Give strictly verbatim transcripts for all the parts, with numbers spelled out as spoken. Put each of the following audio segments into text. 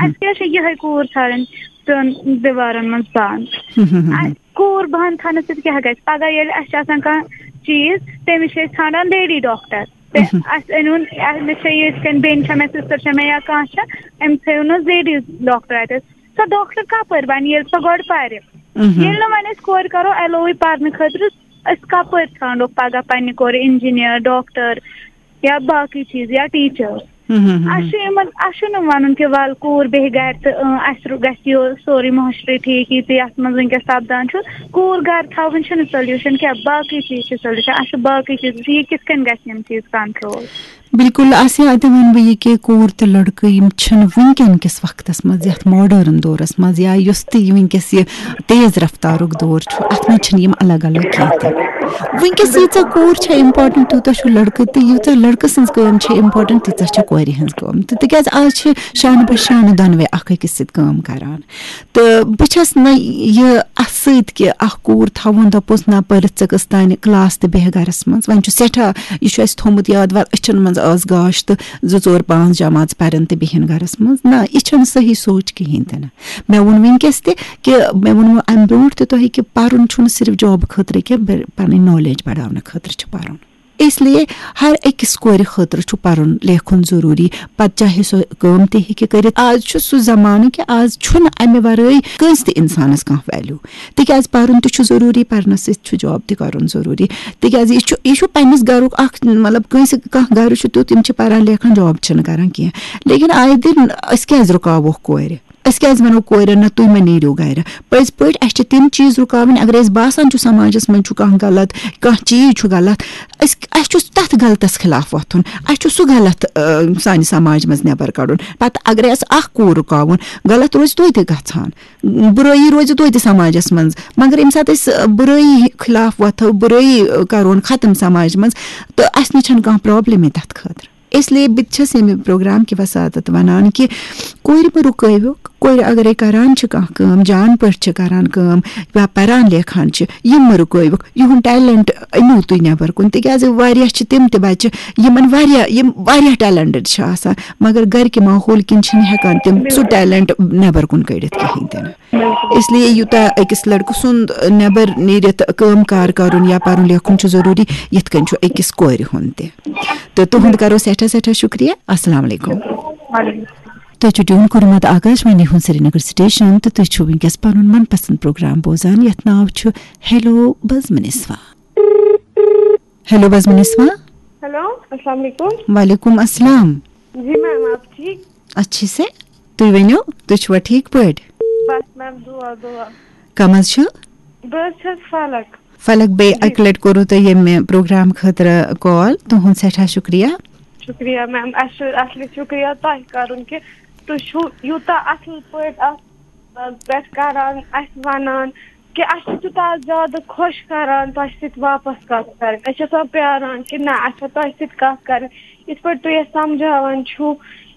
اَسہِ کیٛاہ چھِ یِہے کوٗر ژھانٛڈٕنۍ ترٛٮ۪ن دیوارن منٛز بنٛد؟ اَسہِ کوٗر بنٛد تھاونہٕ سۭتۍ کیٛاہ گژھِ؟ پگاہ ییٚلہِ اَسہِ چھِ آسان کانٛہہ چیٖز، تٔمِس چھِ أسۍ ژھانٛڈان لیڈی ڈاکٹر۔ تہٕ اَسہِ أنِو، مےٚ چھےٚ یِتھ کٔنۍ بیٚنہِ چھےٚ مےٚ، سسٹر چھےٚ مےٚ یا کانٛہہ چھےٚ، أمِس تھٲیِو نہٕ لیڈیٖز ڈاکٹر اَتہِ۔ سۄ ڈاکٹر کَپٲرۍ بَنہِ ییٚلہِ سۄ گۄڈٕ پَرِ؟ ییٚلہِ نہٕ وۄنۍ أسۍ کورِ کَرو ایلوٕے پَرنہٕ خٲطرٕ، أسۍ کَپٲرۍ ژھانٛڈو پَگاہ پننہِ کورِ انجینئر، ڈاکٹر یا باقٕے چیٖز یا ٹیٖچر؟ اَسہِ چھُ یِمن، اَسہِ چھُنہٕ وَنُن کہِ وَل کوٗر بیٚہہِ گَرِ تہٕ، اۭں، اَسہِ رو-، گژھِ یہِ سورُے معاشرٕ ٹھیٖک، یہِ تہِ یَتھ منٛز وٕنکیٚس سَپدان چھُ۔ کوٗر گَرٕ تھاوٕنۍ چھُنہٕ سولوٗشن کینٛہہ، باقٕے چیٖز چھِ سولوٗشن۔ اَسہِ چھُ باقٕے چیٖز، یہِ کِتھ کٔنۍ گژھِ یِم چیٖز کنٹرول؟ بِلکُل، آسیا، اَتہِ وَنہٕ بہٕ یہِ کہِ کوٗر تہٕ لٔڑکہٕ یِم چھِنہٕ وٕنکیٚن کِس وقتَس منٛز، یَتھ ماڈٲرٕن دورَس منٛز یا یُس تہِ یہِ وٕنکیٚس یہِ تیز رفتارُک دور چھُ، اَتھ منٛز چھِنہٕ یِم الگ الگ کینٛہہ تہِ۔ وٕنکیٚس ییٖژاہ کوٗر چھےٚ امپاٹنٹ، تیوٗتاہ چھُ لٔڑکہٕ، تہٕ ییٖژاہ لٔڑکہٕ سٕنٛز کٲم چھےٚ امپاٹنٹ، تیٖژاہ چھےٚ کورِ ہٕنٛز کٲم تہِ، تِکیٛازِ آز چھِ شانہٕ بہ شانہٕ دۄنوَے اَکھ أکِس سۭتۍ کٲم کَران۔ تہٕ بہٕ چھَس نہٕ یہِ اَتھ سۭتۍ کہِ اَکھ کوٗر تھاوُن، دَپوس نہ، پٔرِتھ ژٕ کٔژ تانۍ کلاس تہٕ بیٚہہ گَرَس منٛز۔ وۄنۍ چھُ سٮ۪ٹھاہ، یہِ چھُ اَسہِ تھوٚمُت یاد، وَلہٕ أچھَن منٛز ٲس گاش تہٕ زٕ ژور پانٛژھ جماژ پَرن تہٕ بیٚہن گَرَس منٛز۔ نہ، یہِ چھَنہٕ صحیح سونٛچ کِہیٖنۍ تہِ نہٕ۔ مےٚ ووٚن وٕنکیٚس تہِ کہِ مےٚ ووٚنمو اَمہِ برونٛٹھ تہِ تۄہہِ کہِ پَرُن چھُنہٕ صرف جاب خٲطرٕ کینٛہہ، بل-، پَنٕنۍ نالیج بَڑاونہٕ خٲطرٕ چھُ پَرُن۔ اس لیے ہر أکِس کورِ خٲطرٕ چھُ پَرُن لیکھُن ضروٗری، پَتہٕ چاہے سۄ کٲم تہِ ہیٚکہِ کٔرِتھ۔ آز چھُ سُہ زمانہٕ کہِ آز چھُنہٕ اَمہِ وَرٲے کٲنٛسہِ تہِ اِنسانَس کانٛہہ ویلیو، تِکیٛازِ پَرُن تہِ چھُ ضروٗری، پَرنَس سۭتۍ چھُ جاب تہِ کَرُن ضروٗری، تِکیٛازِ یہِ چھُ، یہِ چھُ پنٛنِس گَرُک اَکھ، مطلب، کٲنٛسہِ، کانٛہہ گَرٕ چھُ تیُتھ، یِم چھِ پَران لیکھان، جاب چھِنہٕ کَران کینٛہہ، لیکِن آیہِ دِن أسۍ کیٛازِ رُکاووکھ کورِ؟ أسۍ کیٛازِ وَنو کورٮ۪ن نہ تُہۍ مہ نیٖرِو گَرِ؟ پٔزۍ پٲٹھۍ اَسہِ چھِ تِم چیٖز رُکاوٕنۍ، اگر اَسہِ باسان چھُ سماجَس منٛز چھُ کانٛہہ غلط، کانٛہہ چیٖز چھُ غلط، أسۍ، اَسہِ چھُ تَتھ غلطَس خلاف وۄتھُن، اَسہِ چھُ سُہ غلط، آ، سانہِ سماجہِ منٛز نٮ۪بَر کَڑُن۔ پَتہٕ اگرے اَسہِ اَکھ کوٗر رُکاوُن، غلط روزِ توتہِ گژھان، بُرٲیی روزِ توتہِ سماجَس منٛز، مگر ییٚمہِ ساتہٕ أسۍ، آ، بُرٲیی خلاف وۄتھو، بُرٲیی، آ، کَرون ختم سماجہِ منٛز، تہٕ اَسہِ نِش چھَنہٕ کانٛہہ پرابلمٕے تَتھ خٲطرٕ۔ اس لیے بہٕ تہِ چھَس ییٚمہِ پروگرام کہِ وساطت وَنان کہِ کورِ مہٕ رُکٲوِو، کورِ اگرے کران چھِ کانٛہہ کٲم، جان پٲٹھۍ چھِ کران کٲم یا پران لیکھان چھِ، یِم مہٕ رُکٲوِکھ، یِہُنٛد ٹیلنٹ أنِو تُہۍ نٮ۪بر کُن، تِکیٛازِ واریاہ چھِ تِم تہِ بچہِ یِمن واریاہ، یِم واریاہ ٹیلنٹڈ چھِ آسان، مگر گرِ کہِ ماحول کِنۍ چھِنہٕ ہٮ۪کان تِم سُہ ٹیلنٹ نٮ۪بر کُن کٔڑِتھ کِہیٖنۍ تہِ نہٕ۔ اس لیے یوٗتاہ أکِس لڑکہٕ سُنٛد نٮ۪بر نیٖرِتھ کٲم کار کرُن یا پرُن لیکھُن چھُ ضروٗری، یِتھ کٔنۍ چھُ أکِس کورِ ہُنٛد تہِ۔ تہٕ تُہُنٛد کرو سٮ۪ٹھاہ سٮ۪ٹھاہ شُکریہ۔ السلام علیکم۔ تۄہہِ چھُ ٹیوٗن کوٚرمُت آکاشوانی ہُنٛد سرینگر سٹیشن تہٕ تُہۍ چھِو وٕنکیٚس پنُن من پسند پروگرام بوزان، یتھ ناو چھُ ہیلو بزمنسوا۔ ہیلو بزمنسوا۔ ہیلو، السلام علیکم۔ وعلیکم السلام۔ جی میم، آپ ٹھیک؟ اچھے سے۔ تُہۍ ؤنِو، تُہۍ چھِوا ٹھیٖک پٲٹھۍ؟ بس میم، دُعا، دُعا۔ کم حظ چھُ؟ بہٕ حظ چھَس فلک۔ فلک، بیٚیہِ جی۔ اَکہِ لَٹہِ کوٚروٕ تۄہہِ ییٚمہِ پروگرام خٲطرٕ کال، تُہُنٛد سٮ۪ٹھاہ شُکریہ۔ شُکریہ میم، اَسہِ چھُ اَصلی شُکریہ تۄہہِ کَرُن کہِ تُہۍ چھِو یوٗتاہ اَصٕل پٲٹھۍ اَتھ، آ، پٮ۪ٹھ کَران، اَسہِ وَنان کہِ اَسہِ چھُ تیوٗتاہ زیادٕ خۄش کَران تۄہہِ سۭتۍ واپَس کَتھ کَرٕنۍ۔ أسۍ چھِ آسان پیٛاران کہِ نہ، اَسہِ چھےٚ تۄہہِ سۭتۍ کَتھ کَرٕنۍ۔ یِتھ پٲٹھۍ تُہۍ اَسہِ سَمجھاوان چھِو،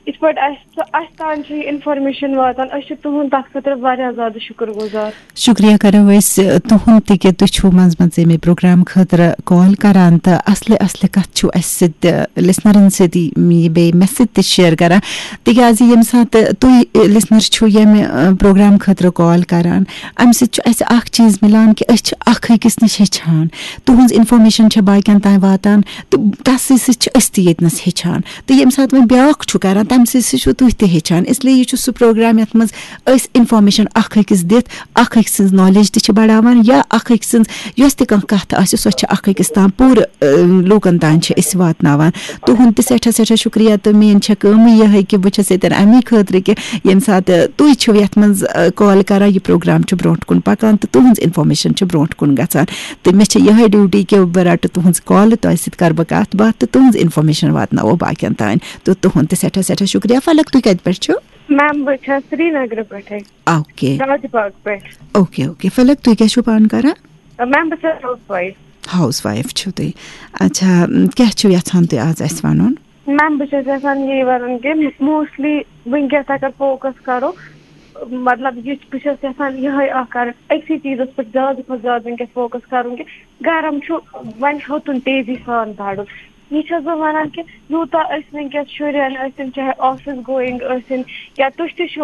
یِتھ پٲٹھۍ اَسہِ، اَسہِ تام چھِ یہِ اِنفارمیشَن واتان، أسۍ چھِ تُہُنٛد تَتھ خٲطرٕ واریاہ زیادٕ شُکُر گُزار۔ شُکریہ کرو أسۍ، آ، تُہُنٛد تہِ کہِ تُہۍ چھِو منٛزٕ منٛزٕ ییٚمہِ پروگرام خٲطرٕ کال کران تہٕ اَصلہِ اَصلہِ کَتھ چھِو اَسہِ سۭتۍ، آ، لِسنَرَن سۭتۍ یہِ بیٚیہِ مےٚ سۭتۍ تہِ شِیَر کران، تِکیٛازِ ییٚمہِ ساتہٕ تُہۍ، آ، لِسنَر چھِو ییٚمہِ، آ، پروگرام خٲطرٕ کال کران، اَمہِ سۭتۍ چھُ اَسہِ اَکھ چیٖز مِلان کہِ أسۍ چھِ اَکھ أکِس نِش ہیٚچھان، تُہٕنٛز اِنفارمیشَن چھےٚ باقیَن تام واتان تہٕ تَسٕے سۭتۍ چھِ أسۍ تہِ ییٚتہِ نَس ہیٚچھان۔ تہٕ ییٚمہِ ساتہٕ وۄنۍ بیٛاکھ چھُ کران، تَمہِ سۭتۍ سۭتۍ چھُو تُہۍ تہِ ہیٚچھان۔ اس لیے یہِ چھُ سُہ پروگرام یَتھ منٛز أسۍ اِنفارمیشَن اَکھ أکِس دِتھ اَکھ أکۍ سٕنٛز نالیج تہِ چھِ بڑاوان، یا اَکھ أکۍ سٕنٛز یۄس تہِ کانٛہہ کَتھ آسہِ، سۄ چھِ اَکھ أکِس تام پوٗرٕ، اَ، لوٗکَن تام چھِ أسۍ واتناوان۔ تُہُنٛد تہِ سٮ۪ٹھاہ سٮ۪ٹھاہ شُکریہ، تہٕ میٛٲنۍ چھےٚ کٲمٕے یِہوٚے کہِ بہٕ چھَس ییٚتٮ۪ن اَمی خٲطرٕ کہِ ییٚمہِ ساتہٕ تُہۍ چھِو یَتھ منٛز، اَ، کال کران، یہِ پروگرام چھُ برٛونٛٹھ کُن پَکان تہٕ تُہٕنٛز اِنفارمیشَن چھِ برٛونٛٹھ کُن گژھان۔ تہٕ مےٚ چھِ یِہوٚے ڈیوٹی کہِ بہٕ رَٹہٕ تُہٕنٛز کالہٕ، تۄہہِ سۭتۍ کَرٕ بہٕ کَتھ باتھ تہٕ تُہٕنٛز اِنفارمیشَن واتناوو باقیَن تام۔ تہٕ تُہُنٛد تہِ سٮ۪ٹھاہ سٮ۪ٹھاہ شُکریہ۔ فلک، تُہۍ کَتہِ پٮ۪ٹھ چھِو؟ میم، بہٕ چھَس سرینگرٕ پٮ۪ٹھَے، اوکے۔ راج باغ پٮ۪ٹھ۔ Okay, okay. فلک، تُہۍ کیٛاہ چھِو پانہٕ کران؟ میم، بہٕ چھَس ہاوُس وایِف۔ ہاوُس وایِف چھِو تُہۍ۔ اچھا، م، کیٛاہ چھِو یَژھان تُہۍ آز اَسہِ وَنُن؟ میم، بہٕ چھَس یَژھان یی وَنُن کہِ موسٹلی وٕنکیٚس اگر فوکَس کَرو، مطلب، یہِ بہٕ چھَس یَژھان یِہوٚے اَکھ کَرٕنۍ، أکسٕے چیٖزَس پٮ۪ٹھ زیادٕ کھۄتہٕ زیادٕ وٕنکیٚس فوکَس کَرُن کہِ گرم چھُ، وۄنۍ ہیوٚتُن تیزی سان بَڑُن۔ یہِ چھَس بہٕ وَنان کہِ یوٗتاہ أسۍ وٕنکیٚس شُرٮ۪ن ٲسِن، چاہے آفِس گویِنٛگ ٲسِن یا تُہۍ تہِ چھِو